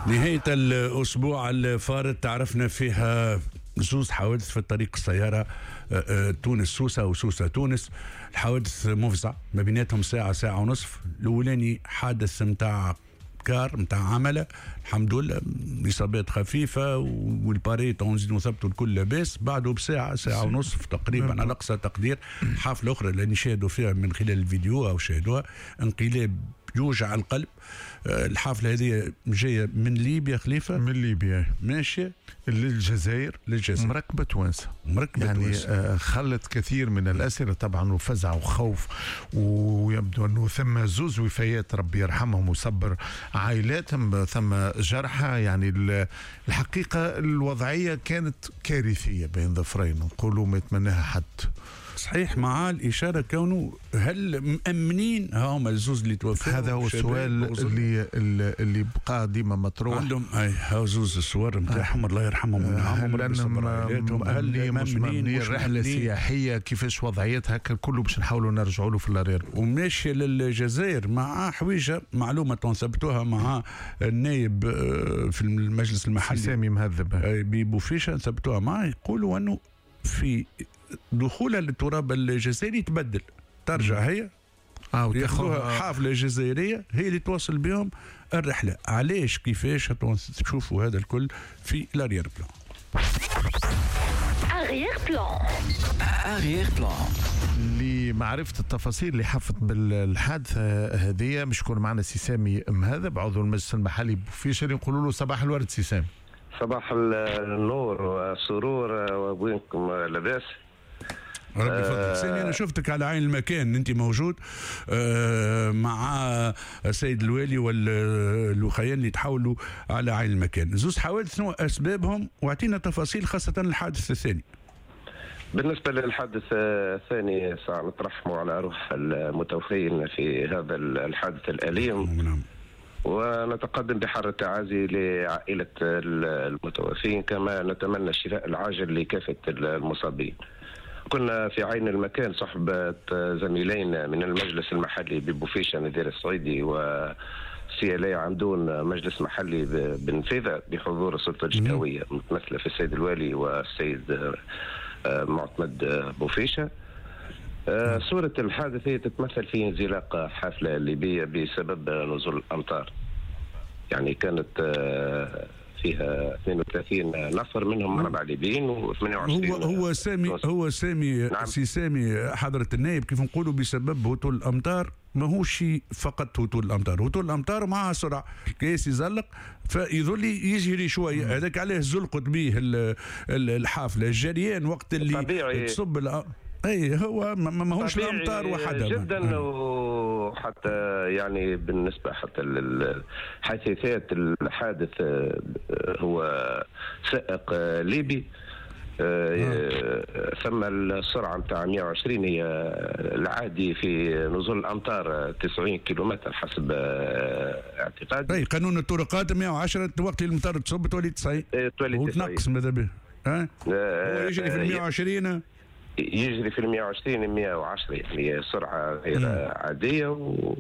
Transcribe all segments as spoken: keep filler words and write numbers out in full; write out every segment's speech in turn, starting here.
نهاية الأسبوع الفارط تعرفنا فيها زوز حوادث في الطريق السيارة تونس سوسة وسوسة تونس. الحوادث مفزع ما بيناتهم ساعة ساعة ونصف. الأولاني حادث متاع car متاع عملة، الحمد لله إصابات خفيفة والباريت نزيدوا نثبتوا الكل لاباس. بعده بساعة ساعة ونصف تقريبا على أقصى تقدير حافلة أخرى اللي نشاهدوا فيها من خلال الفيديو أو شاهدوها انقلاب يوجع القلب. الحافلة هذه جاية من ليبيا خليفة، من ليبيا ماشية للجزائر، للجزائر مركبة توانسة، مركبة يعني توانسة. آه خلت كثير من الأسئلة طبعا وفزع وخوف، ويبدو أنه ثم زوز وفيات ربي يرحمهم وصبر عائلاتهم، ثم جرحى. يعني الحقيقة الوضعية كانت كارثية بين ظفرين، نقولوا ما يتمناها حد. صحيح، مع الإشارة كونه هل مأمنين هما الزوز اللي توفوا؟ هذا هو السؤال اللي اللي بقى ديما مطروح. عندهم اي هاو زوز الصور نتاعهم الله يرحمهم وينعمهم، هل انهم مأمنين مش مأمنين، رحلة سياحية كيفاش وضعيتها كله باش نحاولوا نرجعوا له في l'arrière. وماشية للجزائر مع حويجة معلومة تنثبتوها مع النايب في المجلس المحلي سامي مهذب ببوفيشة، نثبتوها معه، يقولوا انه في دخولها للتراب الجزائري تبدل، ترجع هي اه ياخذوها حافلة جزائرية هي اللي توصل بهم الرحلة. علاش كيفاش تشوفوا هذا الكل في l'arrière-plan. arrière-plan arrière-plan لمعرفة التفاصيل اللي حفت بالحادثه هذه مش يكون معنا سي سامي مهذب عضو المجلس المحلي بوفيشة، نقولوا له صباح الورد سي سامي. صباح النور والسرور، وبينكم لاباس؟ ربي يفضلك سامي. انا شفتك على عين المكان، انت موجود مع السيد الوالي والوخيان اللي تحاولوا على عين المكان. زوز حوادث شنو اسبابهم واعطينا تفاصيل خاصة الحادث الثاني. بالنسبة للحادث الثاني سنترحموا على روح المتوفين في هذا الحادث الاليم. نعم. ونتقدم بحر التعازي لعائلة المتوفين، كما نتمنى الشفاء العاجل لكافة المصابين. كنا في عين المكان صحبة زميلين من المجلس المحلي ببوفيشة نذير الصعيدي وسي ال عمدون مجلس محلي بنفيذة بحضور السلطة الجهوية متمثلة في السيد الوالي والسيد معتمد بوفيشة. صورة الحادث هي تتمثل في انزلاق حافلة ليبية بسبب نزول الأمطار. يعني كانت فيها اثنين وثلاثين نفر منهم أربعة ليبيين وثمانية وعشرين. هو هو سامي هو سامي نعم. سي سامي حضرة النائب كيف نقولوا بسبب هطول الأمطار، ماهوش فقط هطول الأمطار، هطول الأمطار مع سرعة كيس يزلق فيظل يجري شوية، هذاك عليه زلقت به الحافلة. الجريان وقت اللي تصب الأ... اي هو ماهوش الامطار وحدها جدا. وحتى يعني بالنسبة حتى للحادثات، الحادث هو سائق ليبي آه. ثم السرعة نتاع مئة وعشرين هي العادي في نزول الامطار تسعين كيلومتر حسب اعتقادي. اي قانون الطرقات مئة وعشرة وقت المطر تصب تولي تسعين، تولي وتنقص ماذا به. ها هو يجري في مئة وعشرين، يجري في مئة وعشرين مئة وعشرة، يعني سرعة غير عادية و...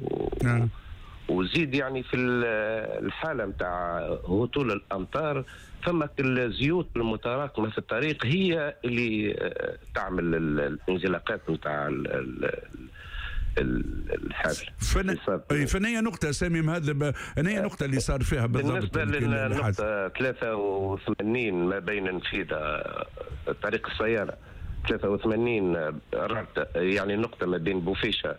وزيد يعني في الحالة نتاع هطول الأمطار ثم الزيوت المتراكمة في الطريق هي اللي تعمل الانزلاقات نتاع الحافلة. فن... فنية نقطة سامي مهذب، أنا نقطة اللي صار فيها بالضبط بالنسبة للنقطة ثلاثة وثمانين ما بين نفيذة طريق السيارة ثلاثة وثمانين يعني نقطة ما بين بوفيشة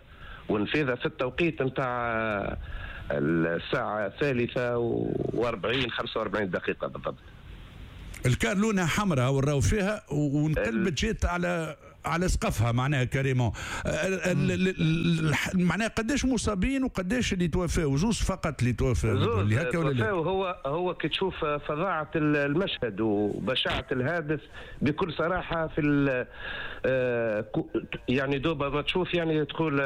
ونفيذة في التوقيت نتاع الساعة الثالثة وأربعين خمسة وأربعين دقيقة بالضبط. الكار لونها حمراء وراو فيها وانقلبت جات على على سقفها معناها carrément. معناها قداش مصابين وقداش اللي توفاو؟ زوز فقط اللي توفاو. اللي هكا ولا لا؟ هو هو كي تشوف فظاعة المشهد وبشاعة الحادث بكل صراحة في يعني دوبا ما تشوف يعني تقول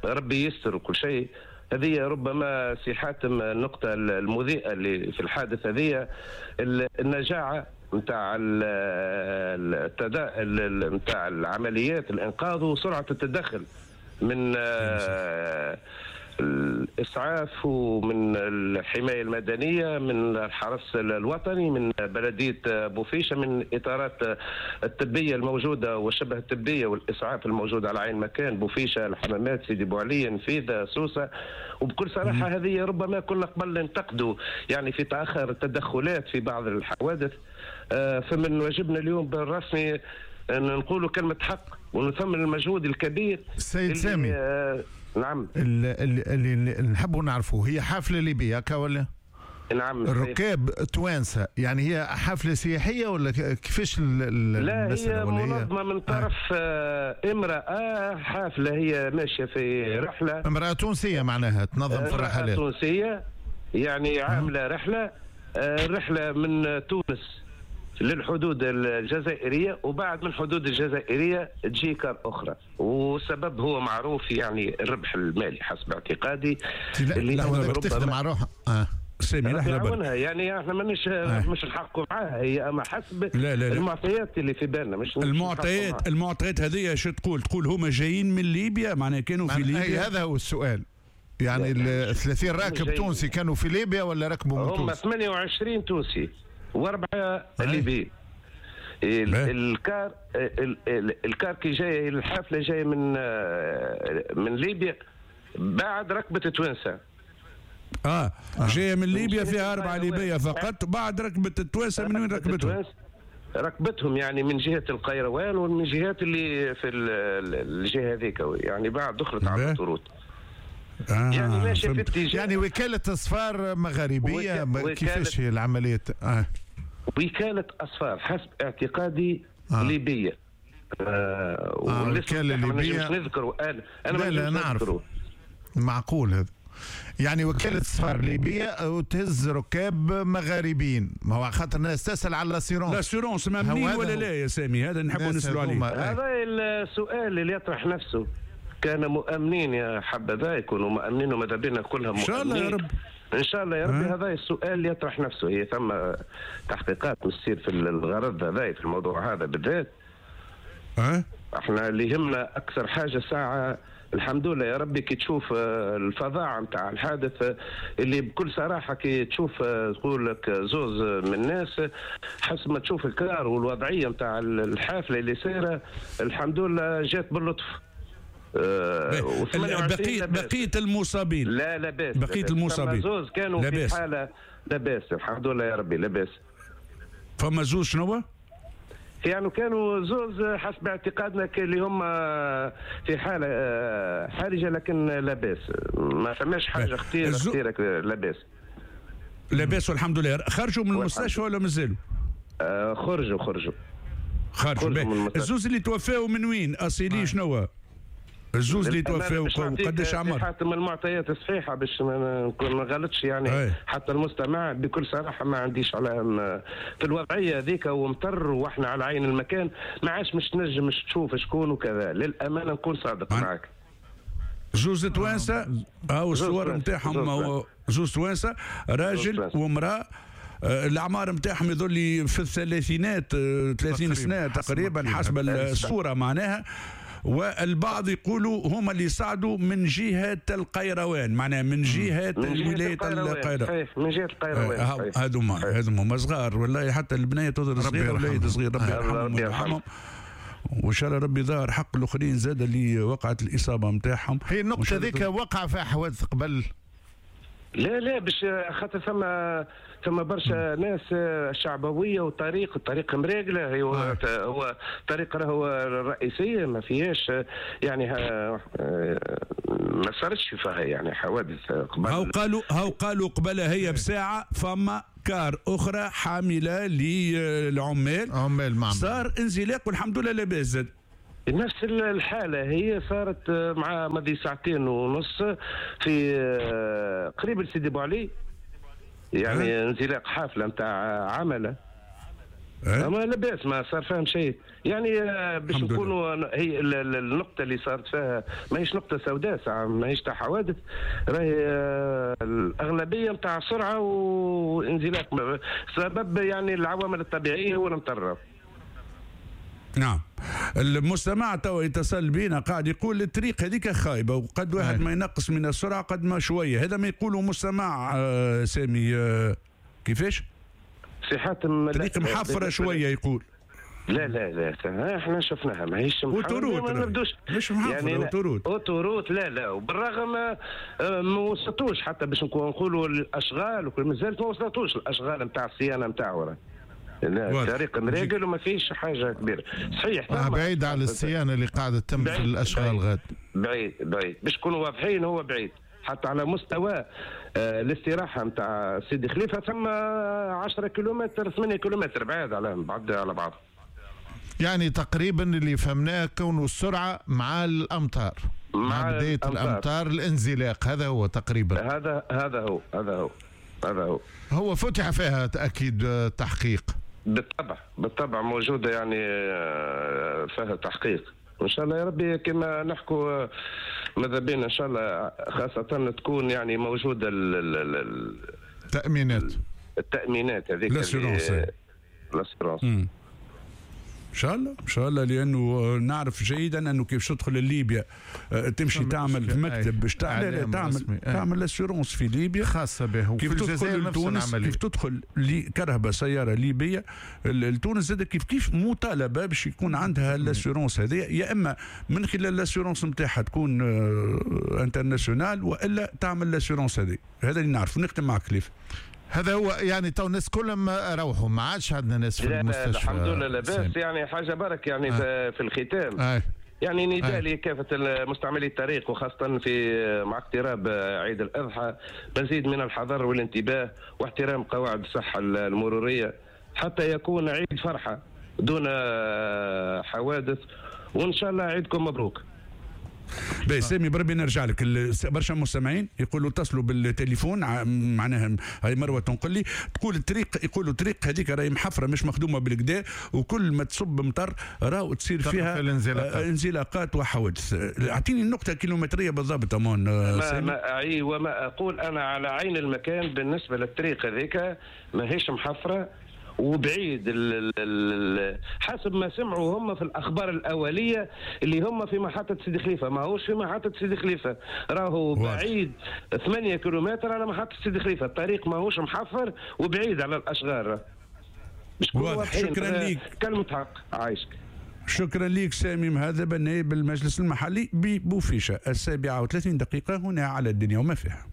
ربي يستر وكل شيء. هذه ربما سي حاتم النقطة المضيئة اللي في الحادث هذه النجاعة نتاع التدا نتاع العمليات الانقاذ وسرعة التدخل من الاسعاف ومن الحماية المدنية، من الحرس الوطني، من بلديه بوفيشه، من الاطارات الطبية الموجودة والشبه الطبية والاسعاف الموجودة على عين مكان بوفيشه، الحمامات، سيدي بوعلي، نفيذه، سوسة. وبكل صراحة هذه ربما كنا قبل ننتقدوا يعني في تاخر التدخلات في بعض الحوادث، فمن واجبنا اليوم بالرسمي ان نقولوا كلمة حق ونثمن المجهود الكبير. السيد سامي، آه نعم، اللي, اللي, اللي نحبوا نعرفه، هي حفلة ليبية هكا ولا؟ نعم. الركاب توانسة، يعني هي حفلة سياحية ولا كيفاش؟ لا، هي منظمة من طرف آه. امراة، حافلة هي ماشية في رحله، امراة تونسية معناها تنظم في الرحلات، تونسية يعني عامله رحله، الرحلة من تونس للحدود الجزائرية، وبعد من الحدود الجزائرية تجي كار اخرى، والسبب هو معروف يعني الربح المالي حسب اعتقادي. لا اللي لا تخدم على روحها آه. سامي لحظة، يعني احنا مانيش آه. مش نحققوا معاها هي، اما حسب لا لا لا. المعطيات اللي في بالنا، مش المعطيات المعطيات هذه شو تقول؟ تقول هما جايين من ليبيا، معناها كانوا في ليبيا. هذا هو السؤال، يعني ال ثلاثين راكب تونسي كانوا في ليبيا ولا ركبوا من تونس؟ هم ثمانية وعشرين تونسي واربعة ليبي. الكار الكار كي جاية الحافلة جاية من من ليبيا، بعد ركبت توانسة. اه جاية من ليبيا فيها اربعة ليبية فقط، بعد ركبت التوانسة. من وين ركبتهم؟ ركبتهم يعني من جهة القيروان ومن جهات اللي في الجهة هذيك، يعني بعد دخلت على الطرود. آه يعني ماشي في اتجاه، يعني وكالة أسفار مغاربية. وك... كيفاش هي العملية؟ آه. وكالة أسفار حسب اعتقادي آه. ليبية. آه آه وكالة ليبية. مش نذكره أنا أنا لا لا نعرف، معقول هذا. يعني وكالة أسفار ليبية وتهز ركاب مغاربيين، ما هو خاطر الناس تسأل على l'assurance. l'assurance مأمنين ولا لا يا سامي؟ هذا نحبوا نسألوا عليه. هذا السؤال اللي يطرح نفسه. كان مؤمنين يا حبذا يكونوا مؤمنين، وماذا بينا كلها مؤمنين ان شاء الله يا رب. ان شاء الله يا ربي. هذا السؤال اللي يطرح نفسه. هي ثم تحقيقات تصير في الغرض هذا، في الموضوع هذا بالذات. أه؟ احنا اللي يهمنا اكثر حاجة ساعة الحمد لله يا ربي كي تشوف الفظاعه نتاع الحادث، اللي بكل صراحة كي تشوف تقول لك زوز من الناس، حسب ما تشوف الكار والوضعيه نتاع الحافلة اللي سايرة، الحمد لله جات باللطف. أه بقية بقية المصابين لا لاباس، بقية المصابين زوز كانوا في حالة لاباس الحمد لله يا ربي لاباس. فما زوز شنو؟ يعني كانوا زوز حسب اعتقادنا اللي هم في حالة حرجة، لكن لاباس، ما فماش حاجة خطيرة خطيرة، لاباس لاباس والحمد لله. خرجوا من المستشفى ولا مازالوا؟ آه خرجوا خرجوا خرجوا. الزوز اللي توفاوا من وين؟ أصيلي شنو؟ الزوز اللي توفاو قداش عمر؟ حتى المعطيات الصحيحة باش ما نكون ما غلطش يعني. أي. حتى المستمع بكل صراحة ما عنديش على في الوضعية هذيك، ومطر واحنا على عين المكان، ما عادش مش تنجم مش تشوف شكون وكذا، للامانة نكون صادق معك. زوز توانسة او الصور نتاعهم، زوز توانسة، راجل وامراة، الاعمار نتاعهم يظل في الثلاثينات، ثلاثين سنة تقريبا حسب الصورة معناها. والبعض يقولوا هما اللي صعدوا من جهة القيروان، معناها من جهة ولاية القيروان. من جهة القيروان. هذوما هذوما صغار والله، حتى البنية تظهر صغيرة والوليد صغير، ربي يرحمهم ويرحمهم، وان شاء الله ربي ظهر حق الاخرين زاد اللي وقعت الاصابة نتاعهم. هي النقطة ذيك وقع فيها حوادث قبل؟ لا لا، باش خاطر ثم ثم برشا ناس شعبويه، وطريق الطريق مراقله، هو آه. هو طريق راهو الرئيسية ما فيهاش يعني ما صارتش فيها يعني حوادث قبل. هاو قالوا هاو قالوا قبلها هي بساعة فما كار اخرى حامله للعمال، عمال معمل، صار انزلاق والحمد لله لاباس زاد. نفس الحالة هي صارت مع ماضي ساعتين ونص في قريب لسيدي بوعلي، يعني انزلاق حافلة نتاع عملة، أما لاباس ما صار فيهم شيء يعني. باش نكونوا هي النقطة اللي صارت فيها ماهيش نقطة سوداء، ساعة ماهيش تاع حوادث، راهي الأغلبية نتاع سرعة وانزلاق، سبب يعني العوامل الطبيعية هو المطرة. نعم. المستمع توا يتصل بينا قاعد يقول الطريق هذيك خايبة وقد واحد أي. ما ينقص من السرعة قد ما شوية، هذا ما يقوله مستمع آه سامي آه كيفاش؟ سي حاتم طريق محفره شوية يقول. لا لا لا احنا شفناها ماهيش autoroute، ما نبدوش مش محفره يعني autoroute. autoroute لا لا، وبالرغم ما وصلتوش حتى باش نقولوا الاشغال مازالت ما وصلتوش الاشغال نتاع الصيانة نتاعو. لا الطريق مريقل وما فيش حاجة كبيرة. صحيح آه بعيد على الصيانة اللي قاعدة تتم في الاشغال غاد. بعيد بعيد باش نكونوا واضحين، هو بعيد حتى على مستوى آه الاستراحة نتاع سيدي خليفة ثم عشرة كيلومتر ثمانية كيلومتر بعيد على بعض على بعض. يعني تقريبا اللي فهمناه كونه السرعة مع الامطار، مع, مع بداية الأمطار. الامطار الانزلاق، هذا هو تقريبا. هذا هذا هو هذا هو هذا هو هو فتح فيها اكيد تحقيق. بالطبع بالطبع موجودة يعني فيها تحقيق، وان شاء الله يا ربي كما نحكوا ماذا بينا ان شاء الله خاصة تكون يعني موجودة التامينات التامينات هذيك l'assurance l'assurance ان شاء الله ان شاء الله، لانه نعرف جيدا انه كيف تدخل لليبيا تمشي تعمل في مكتب باش تعمل تعمل تعمل l'assurance في ليبيا خاصة به، كيف تدخل لتونس كيف تدخل كرهبه سيارة ليبية لتونس زاد كيف كيف مطالبه باش يكون عندها l'assurance هذه، يا اما من خلال l'assurance نتاعها تكون internationale والا تعمل l'assurance هذه. هذا اللي نعرفه. نختم معك خليفة. هذا هو يعني تو الناس كلهم روحوا، ما عادش عندنا ناس في المستشفى. الحمد لله لاباس، يعني حاجة برك يعني آه. في الختام آه. يعني نداء آه. لكافة مستعملي الطريق، وخاصة في مع اقتراب عيد الاضحى، مزيد من الحذر والانتباه واحترام قواعد الصحة المرورية حتى يكون عيد فرحه دون حوادث، وان شاء الله عيدكم مبروك. باهي سامي بربي نرجع لك. برشا مستمعين يقولوا اتصلوا بالتليفون، معناها هاي مروه تنقل لي تقول الطريق، يقولوا الطريق هذيك راهي محفره مش مخدومة بالكدا، وكل ما تصب مطر راهو تصير فيها انزلاقات, انزلاقات وحوادث. اعطيني النقطة الكيلومتريه بالضبط امان ما ما اعي وما اقول انا على عين المكان. بالنسبة للطريق هذيك ماهيش محفره وبعيد ال ال حسب ما سمعوا هم في الاخبار الاولية اللي هم في محطة سيدي خليفة، ماهوش في محطة سيدي خليفة، راهو بعيد ثمانية كيلومتر على محطة سيدي خليفة، الطريق ماهوش محفر وبعيد على الاشغال. واضح. شكرا ليك، كلمة حق عايشك. شكرا ليك سامي مهذب النائب المجلس المحلي ببوفيشه. السابعة وثلاثين دقيقة هنا على الدنيا وما فيها.